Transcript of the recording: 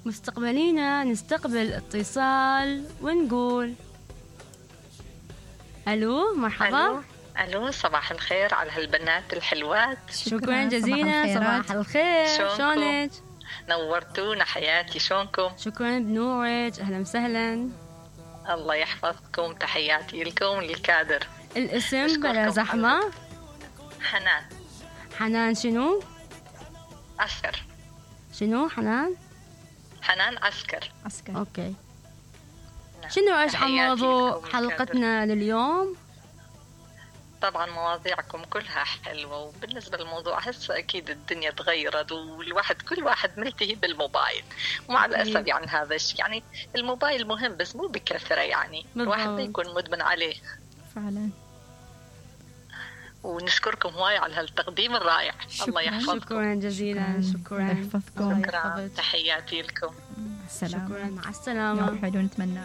مستقبلينا نستقبل اتصال ونقول ألو مرحبا. ألو صباح الخير على هالبنات الحلوات. شكرا جزيلا. صباح الخير. شلونك؟ نورتونا حياتي. شلونكم؟ شكرا بنورك. أهلا وسهلا. الله يحفظكم. تحياتي لكم للكادر. الاسم بلا زحمة. حنان. حنان شنو؟ عسكر. شنو حنان؟ حنان عسكر. أوكي. شنو ايش عن موضوع حلقتنا لليوم؟ طبعا مواضيعكم كلها حلوة، وبالنسبة للموضوع هسه أكيد الدنيا تغيرت والواحد كل واحد ملتهي بالموبايل، ومع الأسف يعني هذا الشيء يعني الموبايل مهم بس مو بكثرة، يعني الواحد ما يكون مدمن عليه فعلا. ونشكركم هواي على هالتقديم الرائع. الله يحفظكم. شكرا جزيلا. شكرا. شكرا. تحياتي لكم. السلام. شكرا. مع السلامة. يوم حلو نتمنى.